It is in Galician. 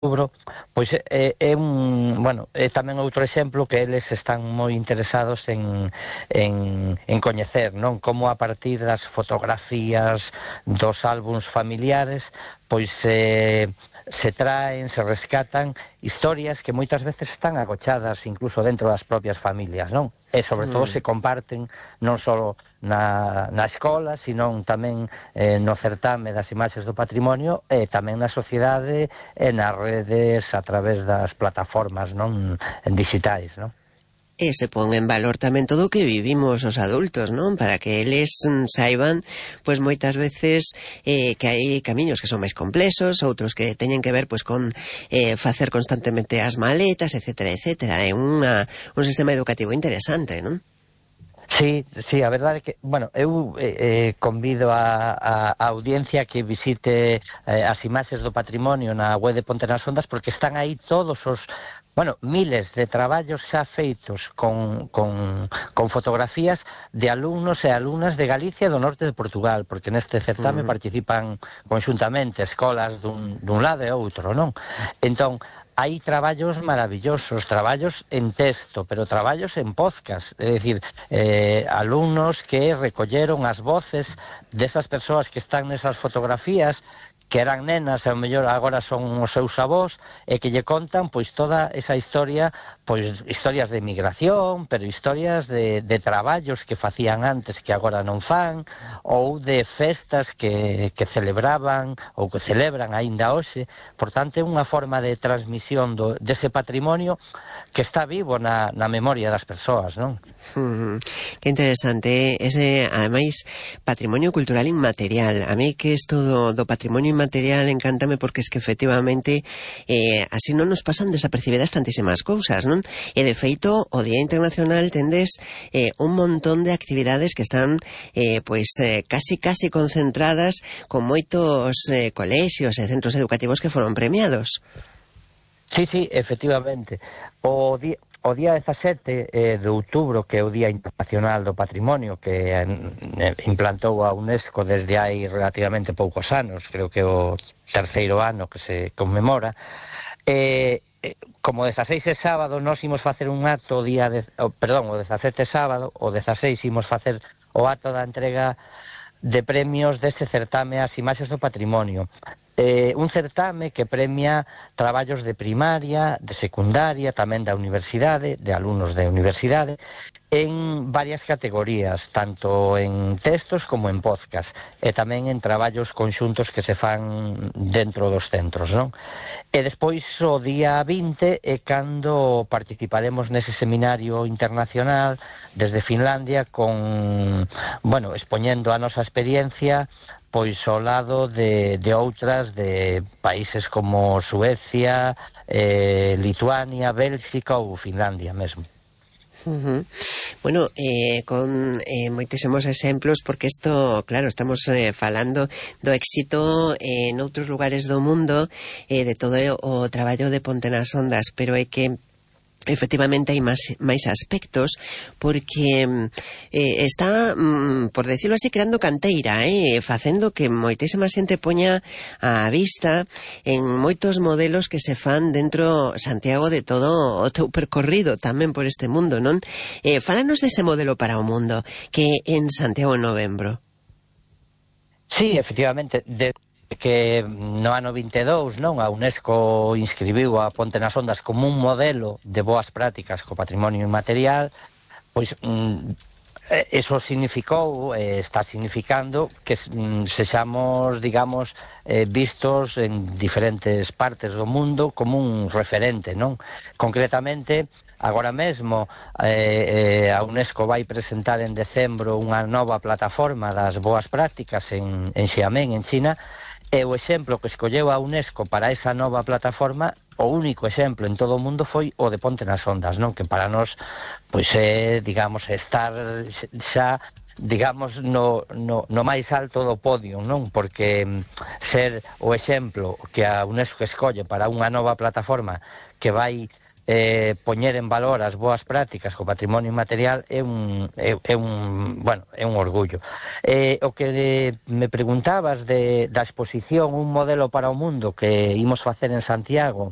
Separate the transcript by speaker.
Speaker 1: outubro, pois é tamén outro exemplo que eles están moi interesados en coñecer, non? Como a partir das fotografías dos álbums familiares, pois se traen, se rescatan historias que moitas veces están agochadas incluso dentro das propias familias, non? E sobre todo se comparten non só na escola, sino tamén no certame das imaxes do patrimonio e tamén na sociedade e nas redes a través das plataformas, non, digitais, non?
Speaker 2: E se pon en valor tamén todo o que vivimos os adultos, non? Para que eles saiban, pois moitas veces que hai camiños que son máis complexos, outros que teñen que ver pois con facer constantemente as maletas, etcétera, etcétera. É un sistema educativo interesante, non?
Speaker 1: Sí, a verdade é que, bueno, eu convido a audiencia que visite as imaxes do patrimonio na web de Ponte nas Ondas, porque están aí todos os miles de traballos xa feitos con fotografías de alumnos e alumnas de Galicia e do norte de Portugal, porque neste certame participan conxuntamente escolas dun lado e outro, non? Entón, hai traballos maravillosos, traballos en texto, pero traballos en podcast, é dicir, alumnos que recolleron as voces desas persoas que están nesas fotografías, que eran nenas e ao mellor agora son os seus avós, e que lle contan pois toda esa historia, pois historias de migración, pero historias de traballos que facían antes que agora non fan, ou de festas que celebraban ou que celebran aínda hoxe. Por tanto, é unha forma de transmisión dese patrimonio que está vivo na memoria das persoas, non?
Speaker 2: Que interesante, ese, ademais, patrimonio cultural inmaterial. A mí que isto do patrimonio inmaterial encántame porque es que efectivamente así non nos pasan desapercibidas tantísimas cousas, non? E de feito, o Día Internacional tendes un montón de actividades que están casi concentradas con moitos colexios e centros educativos que foron premiados.
Speaker 1: Sí, efectivamente. O día 17 de outubro, que é o Día Internacional do Patrimonio, que implantou a UNESCO desde hai relativamente poucos anos, creo que o terceiro ano que se conmemora, como o 16 é sábado, nós imos facer un acto o 17 sábado, o 16 imos facer o acto da entrega de premios deste certame ás imaxes do patrimonio. Un certame que premia traballos de primaria, de secundaria, tamén da universidade, de alumnos de universidade, en varias categorías, tanto en textos como en podcast, e tamén en traballos conxuntos que se fan dentro dos centros, non? E despois, o día 20, é cando participaremos nese seminario internacional desde Finlandia expoñendo a nosa experiencia pois ao lado de outras de países como Suecia, Lituania, Bélxica ou Finlandia mesmo.
Speaker 2: Bueno, con moitísimos exemplos, porque isto, claro, estamos falando do éxito en outros lugares do mundo, de todo o traballo de Ponte nas Ondas, pero é que efectivamente hai máis aspectos, porque está, por decirlo así, creando canteira, facendo que moitísima xente poña a vista en moitos modelos que se fan dentro, Santiago, de todo o teu percorrido tamén por este mundo, non? Fálanos dese modelo para o mundo que en Santiago en novembro.
Speaker 1: Sí, efectivamente, que no ano 22, non, a UNESCO inscribiu a Ponte nas Ondas como un modelo de boas prácticas co patrimonio inmaterial, pois eso significou, está significando que sexamos, digamos, vistos en diferentes partes do mundo como un referente, non? Concretamente, agora mesmo a UNESCO vai presentar en decembro unha nova plataforma das boas prácticas en Xiamen, en China, e o exemplo que escolleu a UNESCO para esa nova plataforma, o único exemplo en todo o mundo, foi o de Ponte nas Ondas, non? Que para nós, pois é, digamos, estar xa, digamos, no máis alto do podio, non? Porque ser o exemplo que a UNESCO escolle para unha nova plataforma que vai poñer en valor as boas prácticas co patrimonio inmaterial é un orgullo. O que me preguntabas da exposición Un modelo para o mundo que imos facer en Santiago